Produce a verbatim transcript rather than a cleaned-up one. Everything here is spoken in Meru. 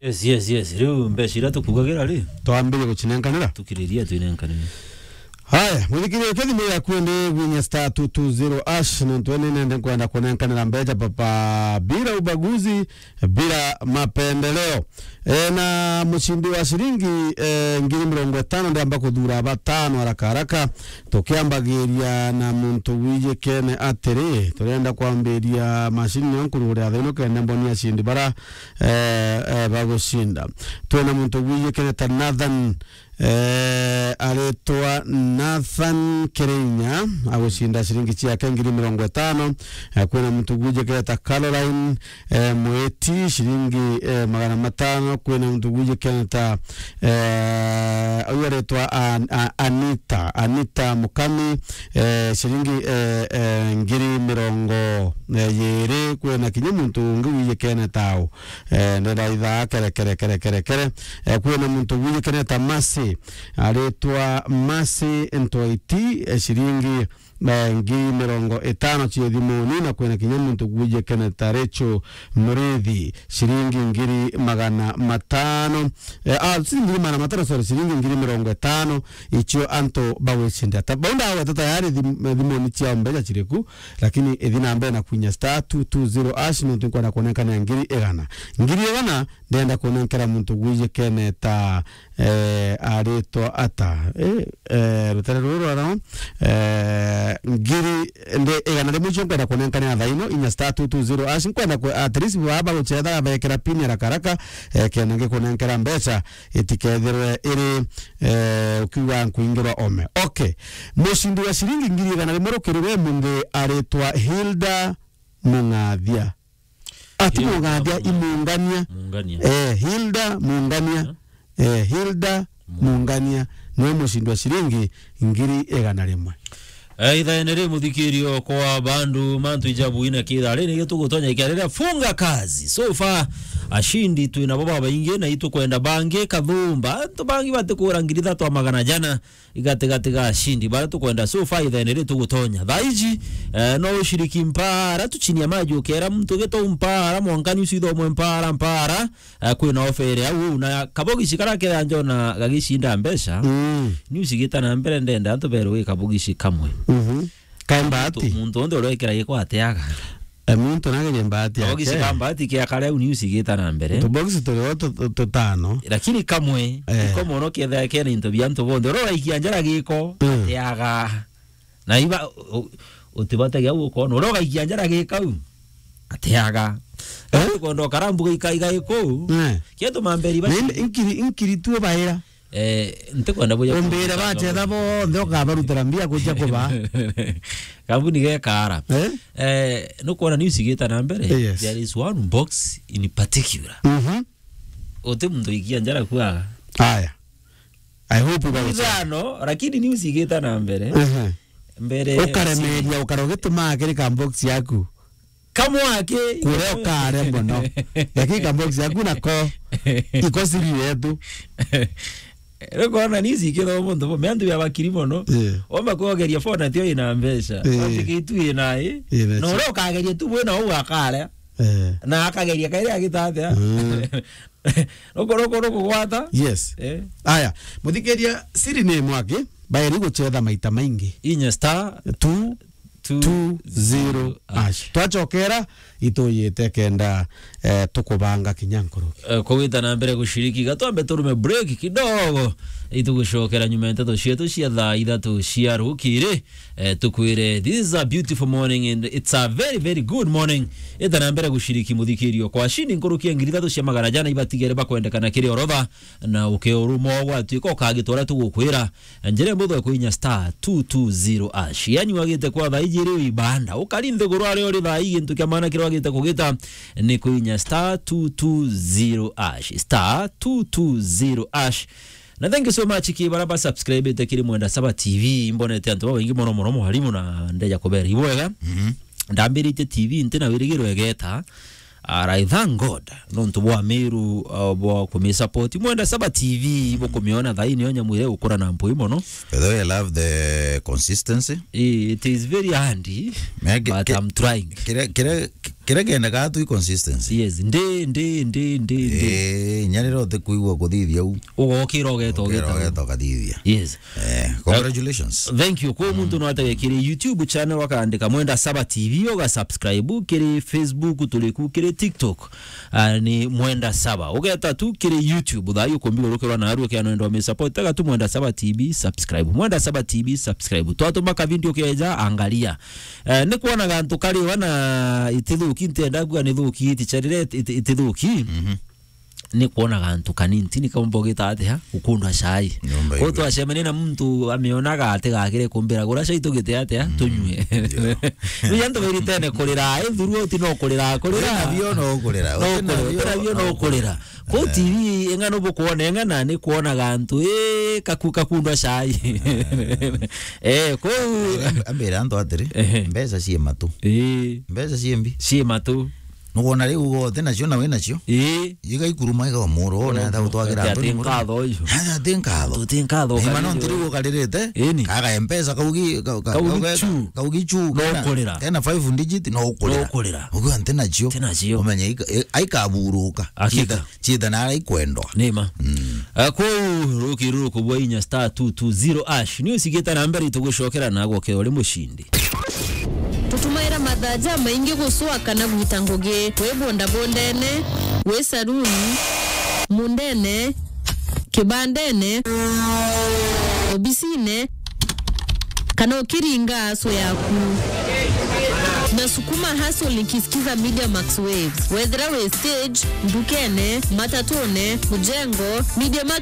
Yes, yes, yes. Riu mbeca iria tukugagira ri? Twambirie gucinenkanira? Tukiriria twinenkanire. Haya, muthikiria, uke thimu yaku ende gwinya star two two zero hash, nontu ni nende nkwenda kunenkanira mbeca papa, bila ubaguzi, bila mapendeleo. E, na mucindi wa ciringi, e, ngiri mirongo itano ndiamba kuthura batano haraka haraka. Tukiambagiria na muntu wijikene atiri, turenda kwambiria macini niyo nkurugure athaino kenda mboni acindi bara, e, e, bagucinda. Twina muntu wijikene ta Nathan, e, aritwa Nathan Kirinya, agucinda ciringi ciake ngiri mirongo itano. E, kwina muntu wijikene ta Caroline, e, Mwiti, ciringi, e, magana matano. Kwina muntu wijikene ta, e, uyu aritwa An-, A-, Anita, Anita Mukami, e, ciringi, e, e, ngiri mirongo, e, yiri. Kwina kinya muntu ungi wijikene tau, e, ndenda ithaa kere, kere, kere, kere, kere. E, kwina muntu wijikene ta Mercy, aritwa Mercy Ntwaiti, e, ciringi, e, ngiri mirongo itano cia thimuni, na kwina kinya muntu wijikene ta Rachel Murithi, ciringi ngiri magana matano, e, ah, si ngiri magana matano, sorry, ciringi ngiri mirongo itano, icio antu bagwicinda. Ta, bau ndagweta tayari thim-, thimuni ciao mbeca ciriku, lakini ithi na mbere na kwinya star two two zero hash, nontu nkwenda kunenkanira ngiri igana. Ngiri igana ndenda kunenkera muntu gwijikene ta, eh, aritwa ata? Eh, eh, rutare ruru rwa, eh, ngiri, nde, igana rimwe icio nkwenda kunenkanira thaino, inya star two two zero hash, nkwenda ku, at least baba gucetha bekera pin haraka haraka, eh, kenda ngikunenkera mbeca, itikethirwe iri, eh, ukiuga nkuingirwa ome. Okay. Mucindi wa ciringi ngiri igana rimwe rukiri rwe munthi aritwa Hilda Mung'athia. Ati Hilda Mung'athia, Mung'athia. Imungania. Mungania. Eh, Hilda Mungania. Eh? Eh, Hilda Mung'athia. Mung'athia. Niwe mucindi wa ciringi ngiri igana rimwe. Eh, ithaene ri muthikirio kwa bandu mantu ijabu ina kithari ni gitugutonya ikia riria funga kazi. So far, ashindi twina bo babaingi na itukwenda bangi kathumba. Antu bangi batikura ngiri ithatu a magana jana. Igatigatiga ashindi baria tukwenda so far ithaene ri tugutonya. Thaa iji, eh, no ushiriki mpara tu chini ya maji ukera muntu gito mpara mwanka news ithomwe mpara, mpara, eh, kwina offer au na kabogici karia kethira njona gagicinda mbeca. Mm. News igita na mbere ndenda antu berwe kabogici kamwe. Mhm. Kae mbati. Muntu, muntu onthe uria wikira giko ateaga. E, muntu nagerie mbati yake. Kabogici ka mbati kia kare au news igita na mbere. Tubogici turi o tu-, tu-, tutano. Lakini kamwe, eh, iko mono kethira kena into bia antu bonthe. Uria uraikia njara giko, mm, ateaga. Na iba, u-, u-, utibatagia au ukona. Uria ugaikia njara gikau, ateaga. Eh? Ukondo karambu gaika iga iku. Eh. Kietu mamberi ba. Na in-, inkiri, inkiri tu baira. Eh, ntikwenda buja. Umbire bacetha bonthe ukabarutira mbia kuja kuba. Kambuni gekara. Eh? Eh, nukwona news igita na mbere. Yes. There is one box in particular. Mhm. Uti muntu ikia njara kuaga. Aya. I hope ugaruta. Ithano, lakini news igita na mbere. Mhm. Mbere. Ukaremeria, ukara ugituma kiri ka box yaku. Kamwaki. Kuria ukare mono. Lakini ka box yaku nako. Iko siri yetu. Rikona ni cikiro muntu bo, me antu ya bakiri mono. Yeah. Omba kuogeria phone atio ina mbeca. Yeah. Ati kitu ina i. Yeah, that's it. No, ro kageria tu bwena u akare. Eh. Na akageria kairi agitatia. Mm. Roko, roko, roko gwata. Yes. Eh. Aya, muthikiria siri ni mwaki, bairi gucetha maita maingi. Inya star two two zero hash. Twachokera, ituyite kenda, eh, tukubanga kinya nkuruki. Eh, kugwita na mbere gushiriki, gatwambe turume break kidogo, itugucokera nyuma ya nteto cietu cia thaa ithatu cia rukiri. Eh, tukwire, this is a beautiful morning and it's a very, very good morning. Ita na mbere gushiriki muthikirio kwa shini nkuruki ya ngiri ithatu cia magana jana ibatigere bakwendekana kiri orodha, na ukeuruma gwatuika ukagitwara tugukwira. Njira mbutho ya kuinya star two two zero hash. Yani wagite kwa thaa iji ri ibanda. Ukari nthiguru aria uri thaa ii, gintu kia maana kiria wagite kugita ni kuinya star two two zero hash. Star two two zero hash. Na thank you so much ki bara ba subscribe te kiri Mwenda Saba T V. Mbonete antu babaingi mono mono, mwarimu, na ndeja kubera ibwega. Mhm. Ndambirite T V nti na wirigiro egeta. And I thank God nontu bwa Meru, uh, bwa kumisupport. Mwenda Saba T V, bukumiona thaini yo nyamu iria gukura na mpui mono. By the way, I love the consistency. Eh, it is very handy, but I'm trying. Kire, kire, kire kenda gaa tu consistency. Yes, ndi, ndi, ndi, ndi, ndi. Eh, nyarira utikuigua kuthithia u. Ugokira ugeta, ugeta, ugeta ugathithia. Yes. Eh, congratulations. Thank you. Kwa muntu no ategekire YouTube channel, wakaandika Mwenda Saba T V, uga subscribe, kiri Facebook turiku, kiri TikTok, ah, ni Mwenda Saba. Ugeta tu kiri YouTube, thaa yu kumbi urukirwa na arua kiano ndo me support. Tega tu Mwenda Saba T V, subscribe. Mwenda Saba T V, subscribe. Twatuma ka video keja, angalia. Eh, ni kwona gantu kari wana itithuki, ntenda kuga ni thuki, iticharire iti-, itithuki. Mhm. Ni kwona gantu kanini, ni kaumba ugita atia, ukundwa chai. Nyomba. Kwou igwe. Twacemania na muntu amionaga ati gakire kumbira, gura chai tugite atia, mm, tunywe. Yeah. Riu antu bairitene kurira, eh, throughout no kurira, kurira. Wina bio no kurira. No kurira, wina bio no kurira. Kwou, eh, T V ing'ana bukwona ing'ana, ni kwona gantu, eh, kaku-, kakundwa chai. Eh, kwou. Ambira antu atiri, ehe, mbeca cii matu. Eh. Mbeca cii mbi. Cii matu. Nukwona riu uga uti nacio na wi nacio? Ii. Igaikuruma iga muru, ona ata utwagira antu ni muru. Nkatho uyu. Aya ti nkatho. Tuti nkatho. Ni ma no ntiri ukaririte. Ini. Kaga M-Pesa kaugi, ka-, ka-, kaugi kaugi chu. Kaugi chu. No kena, kurira. Kena five digit, no kurira. No kurira. Uga nti nacio. Nti nacio. Umenye ika-, i-, aikaburuka. Hakika. Ciita, ciita na ara ikwendwa. Ni ma. Mm. Ah, kwou rukiri rukubwa inya star two two zero hash. Ni ucigite na mbere itugucokera na gwokera uri mucindi. Tutumaira mathaa jamaingi gucua kana gwita ngugi, wi bondabondene, wi saruni, mundene, kibandene, obisine, kana ukiringa aso yaku. Nasukuma hustle nikisikiza Media Max Waves. Wethira wi stage, ndukene, matatune, mujengo, Media Max